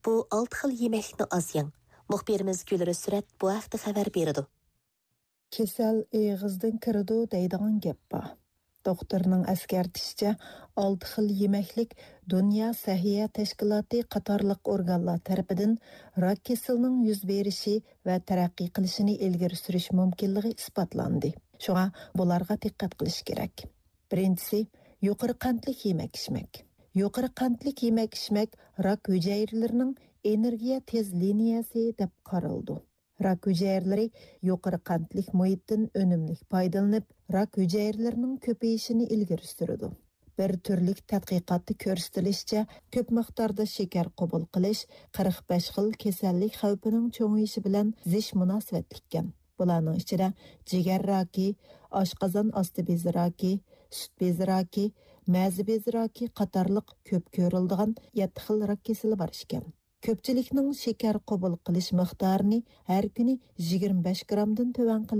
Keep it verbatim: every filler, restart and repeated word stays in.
بۇ ئالتە خىل يېمەكلىكنى ئاز يەڭ. مۇخبىرىمىز گۈلرىز سۈرەت بۇ ھەقتە خەۋەر بېرىدۇ. كېسەل ئېغىزدىن كىرىدۇ دەيدىغان گەپ بار. دوختۇرنىڭ ئەسكەرتىشىچە، ئالتە خىل يېمەكلىك دۇنيا سەھىيە تەشكىلاتى قاتارلىق ئورگانلار تەرىپىدىن راك كېسىلىنىڭ يۈز بېرىشى ۋە تەرەققىي قىلىشىنى ئىلگىرى سۈرۈش مۇمكىنلىقى ئىسپاتلاندى. شۇڭا بۇلارغا دىققەت قىلىش كېرەك. بىرىنچىسى، يۇقىرى قەنتلىك يېمەك ئىچمەك. يۇقىرى قەنتلىك يېمەك ئىچمەك راك ھۈجەيرىلىرىنىڭ ئېنېرگىيە تېز لىنىيەسى دەپ قارىلىدۇ. راك ھۈجەيرىلىرى يۇقىرى قەنتلىك مۇھىتتىن ئۈنۈملۈك پايدىلىنىپ، راك ھۈجەيرىلىرىنىڭ كۆپىيىشىنى ئىلگىرى سۈرىدۇ. بىر تۈرلۈك تەتقىقاتتا كۆرسىتىلىشىچە، كۆپ مىقداردا شېكەر قوبۇل قىلىش قىرىق بەش خىل كېسەللىك خەۋپىنىڭ چوڭىيىشى بىلەن زىچ مۇناسىۋەتلىككەن. بۇلارنىڭ ئىچىدە جىگەر راكى، ئاشقازان ئاستى بېزى راكى، سۈت بېزى راكى، مەزە بېزى راكى قاتارلىق كۆپ كۆرۈلىدىغان يەتتە خىل راك كېسىلى بار ئىكەن. كۆپچىلىكنىڭ شېكەر قوبۇل قىلىش مىقدارىنى ھەر كۈنى يىگىرمە بەش گرامدىن تۆۋەن قىلىش